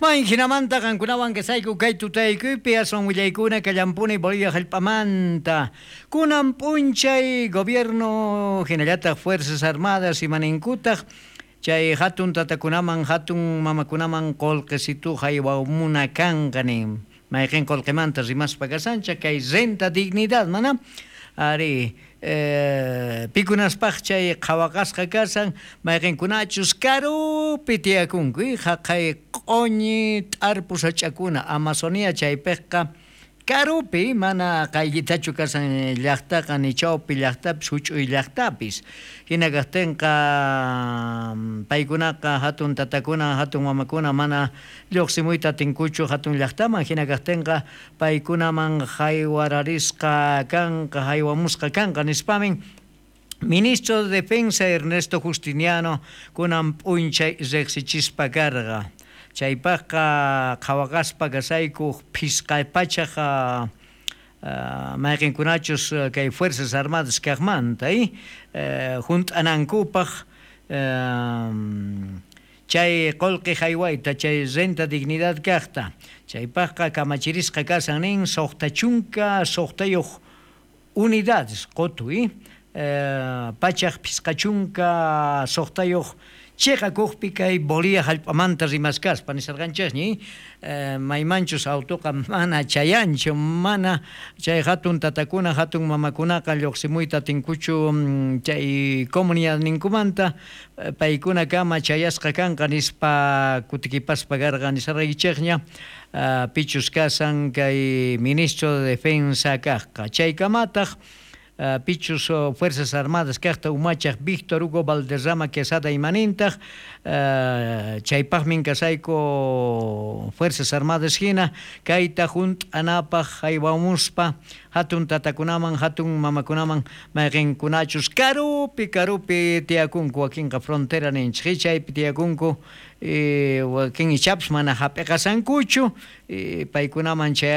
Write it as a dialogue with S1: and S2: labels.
S1: May jinamanta qankunawan kasayku kay tutaykuypi aswan willaykuna kallampuni Bolivia hallp'amanta. Kunan p'unchay gobierno hinallataq Fuerzas Armadas imaninkutaq chay hatun tatakunaman hatun mamakunaman qullqisitu haywamuna kanqa nin. Mayqin qullqimanta rimaspa kasanchik kay renta dignidad mana ari pikunaspaq chay qhawaqasqa kasan mayqinkunachus karupi tiyakunku haqay q'uñi t'arpu sach'akuna Amazonia chaypiqqa karupi mana qayllitachu kasan llaqtaqa ni chawpi llaqtapis huch'uy llaqtapis hina kaqtinqa paykunaqa hatun tatakuna hatun mamakuna mana lluqsimuyta atinkuchu hatun llaqtaman hina kaqtinqa paykunaman haywararisqa kanqa haywamusqa kanqa nispamin Ministro de Defensa Ernesto Justiniano kunan p'unchay riqsichispa karqa. Chaypaqqa qhawaqaspa kasayku phisqa pachaq mayqinkunachus kay Fuerzas Armadas kaqmanta hunt'anankupaq chay qullqi haywayta chay renta dignidad kaqta chaypaqqa kamachirisqa kasan nin 66 unidades qutu pachaq 56 chiqakuqpi kay Bolivia hallp'amanta rimaskaspa nisarqanchikñi maymanchus autoqa mana chayanchu mana chay hatun tatakuna hatun mamakunaqa lluqsimuyta atinkuchu chay comunidadninkumanta paykuna kama chayasqa kanqa nispa kutikipaspa karqa nisarqaykichikña pichus kasan kay ministro de Defensa kaqqa chaykamataq pichus Fuerzas Armadas kaqta umachaq Víctor Hugo Valderrama Quesada imanintaq chaypaqmin kasayku Fuerzas Armadas hina kayta hunt'anapaq haywamuspa hatun tatakunaman hatun mamakunaman mayqinkunachus karupi karupi tiyakunku wakinqa frontera ninchik chaypi tiyakunku wakin ichapas mana hap'iqasankuchu paykunaman chay